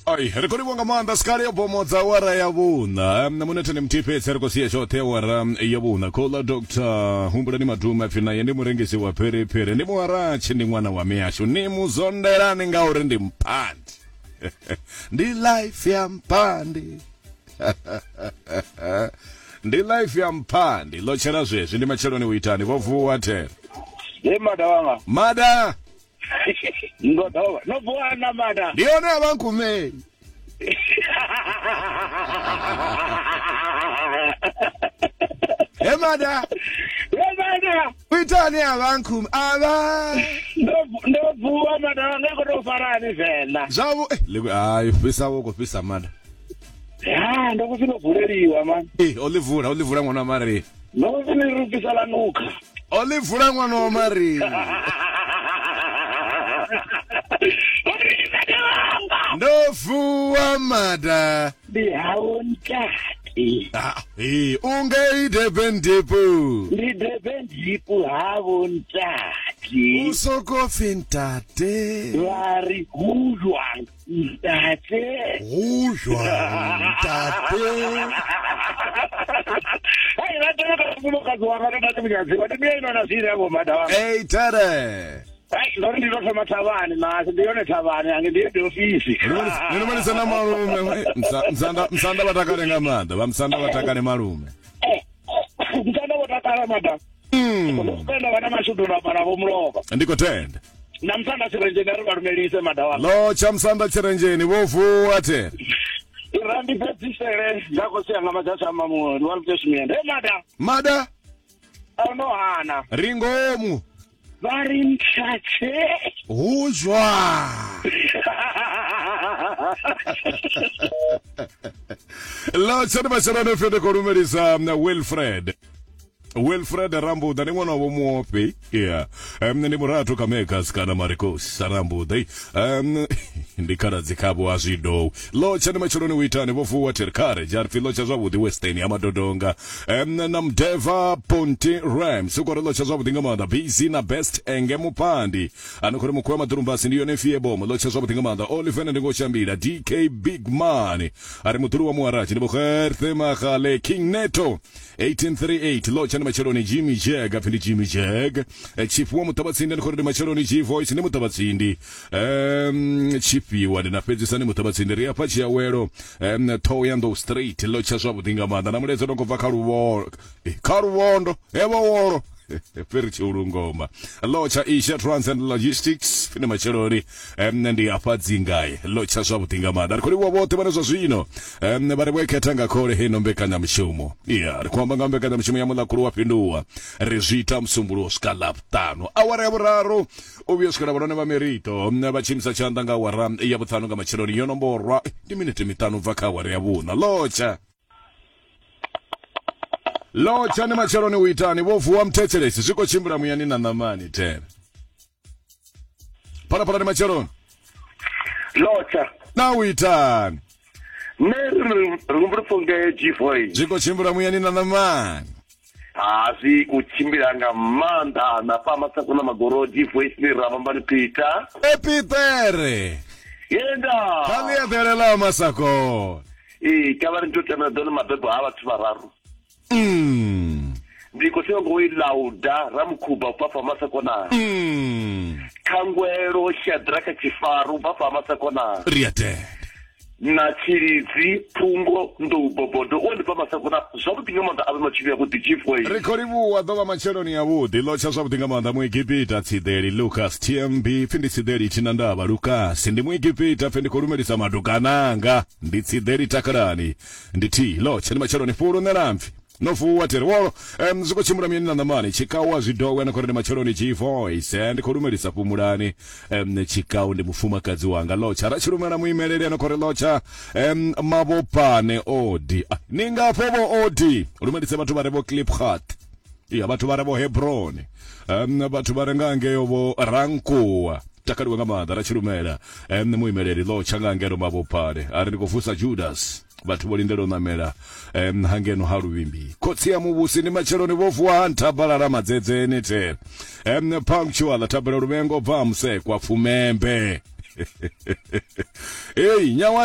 Ai, ri khou livhuwa nga maanḓa sikale yo bomodza awara ya vhuṋa. Munethe ndi muthihi fhedzi ri khou sia tshoṱhe awara ya vhuṋa. Khola Dr. Humbulani Madume apfi naye ndi murengisi wa phiriphiri, ndi muharatshi, ndi ṅwana wa miyashu. Ni mu zondelani ngauri ndi mphandi. Ndi life ya mphandi. Ndi life ya mphandi. Ḽo tshela zwezwi ndi matsheloni u itani vho vuwa there. Ye mada wanga. Mada. Ndo dovha. No vuwa na mada. Ndi yone a vha nkumei. He mada. Ye mada. U itani a vha nkume a vha. Ndo vuwa mada wanga i khou tou farani Venḓa. Zwavhu eh ḽi hai fhisa wo khou fhisa mada. Ya ndo khou no vuleliwa man. Eh o ḽi vula o ḽi vula ṅwana wa Maria. Ndo khou ni ri fhisa ḽa nukha. O ḽi vula ṅwana wa Maria. Ndo vuwa mada. Ndi hawo ntate. Ah, eh, ungei Durban Depo. Ndi Durban Depo havo ntate. U soko pfi ntate. Vha ri hu jwang ntate. Hu jwang ntate. Hai vha tevha kha mufumakadzi wanga ndo tate munyadziwa ndi mbiya ino na zwine yavho mada wanga. Ei tere. Hai ndo ri ndi ndo thoma thavhani masi ndi yone thavhani ange ndi ndi ofisi. Ni lumelisa na malume. Msanda msanda vha takale nga maanḓa. Vha msanda vha takale malume. Msanda vho takala mada. Ndo vha na mashudu ndo amba navho mulovha. Ndi khou tenda. Na musanda tshirenzheni a ri vha lumelise mada wanga. Ḽo tsha musanda tshirenzheni vho vuwa the. Ira ndi fhedzisele nga khosi yanga madzhasi a mamuwe ndi wa Luteshimiende. He mada. Mada. A no hana. Ri ngomu. Vha ri ntshatshe. Hu jwa. Ḽo tsha ndi matsheloni pfi ndi khou lumelisa Wilfred. Wilfred Rambuda ndi ṅwana wa vho Muofhe yeah. Ndi murathu kha Megas kana Marcos Rambuda ndi khaladzi khavho a zwidou lotsha ndi matsheloni u itani vho vuwa Terkare jarpfi lotsha zwavhuḓi Western ya Madodonga na Mdeva Ponti Rams u khou ri lotsha zwavhuḓi nga maanḓa busy na best enge mupandi ano khou ri mukhuwa maḓurumbasi ndi yone fiebomo lotsha zwavhuḓi nga maanḓa Oliven ndi ngo shambila DK Big Man a ri muḓulu wa muharatshi ndi Vho Magale King Neto 1838 lotsha ndi matsheloni Jimmy Jag apfi ndi Jimmy Jag. Eh, Tshifhiwa Muṱavhatsindi ndi khou ri ndi matsheloni G Voice ndi Muṱavhatsindi. Tshifhiwa ndi na fhedzisa ndi Muṱavhatsindi ri afha tshiawelo Thohoyandou Street lotsha zwavhuḓi nga maanḓa na mulaedza no khou bva kha luvhondo kha luvhondo hevho wolo fhiri tshiulungoma lotsha Asia Trans and Logistics pfi ndi matsheloni ndi afha dzingae lotsha zwavhuḓi nga maanḓa ri khou livhuwa vhoṱhe vhane zwa zwino vha ri vho khetha nga khole heino mbekanyamushumo ya ri khou amba nga mbekanyamushumo ya muḽakhulu wa fhinduwa ri zwi ita musumbuluwo swika ḽavhuṱanu awara ya vhuraru u vhuya swikela vhalwane vha merito vha tshi imisa tshanḓa nga awara ya vhuṱanu nga matsheloni yo nomborwa ndi minete miṱanu bva kha awara ya vhuṋa lotsha lotsha ni matsheloni u itani vho vuwa muthetshelesi zwi khou tshimbila muyani na ṋamani there phalaphala ndi matsheloni lotsha na u itani nṋe ri humbula pfunge g4 zwi khou tshimbila muyani na ṋamani ha zwi khou tshimbila nga maanḓa na fha masako na magoro g4 sine ra vhambani peter epitere yenda kha ḽi eḓele ḽa masakona ee ka vha ri ndi to tamela ḓone mabebo ha vhathu vhararu Ndi khou sevha ngo i lauda Ramukhuba u bva fha Masakona. Khangwelo Shadraka Tshifaru u bva fha Masakona. Ri a tenda. Na Tshilidzi Phungo Nḓou Bobodo u ndi bva Masakona zwavhuḓi nga maanḓa avhe matshelo avhuḓi Chief Way. Ri khou livhuwa ḓo vha matsheloni avhuḓi ḽo tsha zwavhuḓi nga maanḓa Muegipita Tsiḓeli Lucas TMB pfi ndi Tsiḓeli thina ndavha Lucas ndi Muegipita pfi ndi khou lumelisa madukananga ndi Tsiḓeli takalani Ndi thi ḽo tsha ndi matsheloni fhulu nṋe lampfi no vuwa thiri wolo zwi khou tshimbila muyani na ṋamani tshikau a zwi dowe na khou ri ndi matsheloni G voice ndi khou lumelisa fhumulani tshikau ndi mufumakadzi wanga lotsha ra tshi lumela muimeleli ano khou ri lotsha mavhopane odi ah, ni ngafho vho odi lumelise vhathu vha re vho Klipgat ya vhathu vha re vho Hebron vhathu vha re nga ngeo vho Rankuwa takaliwe nga maanḓa ra tshi lumela muimeleli lotsha nga ngeno mavhopane a ri ndi khou vusa Judas vhathu vho lindela u ṋamela hangeno ha luvhimbi khotsi ya muvhusi ndi matsheloni vho vuwa ha nthabalala madzedzeni the punctual thabelo luvhengo bva musekwa pfumembe ei nyawa.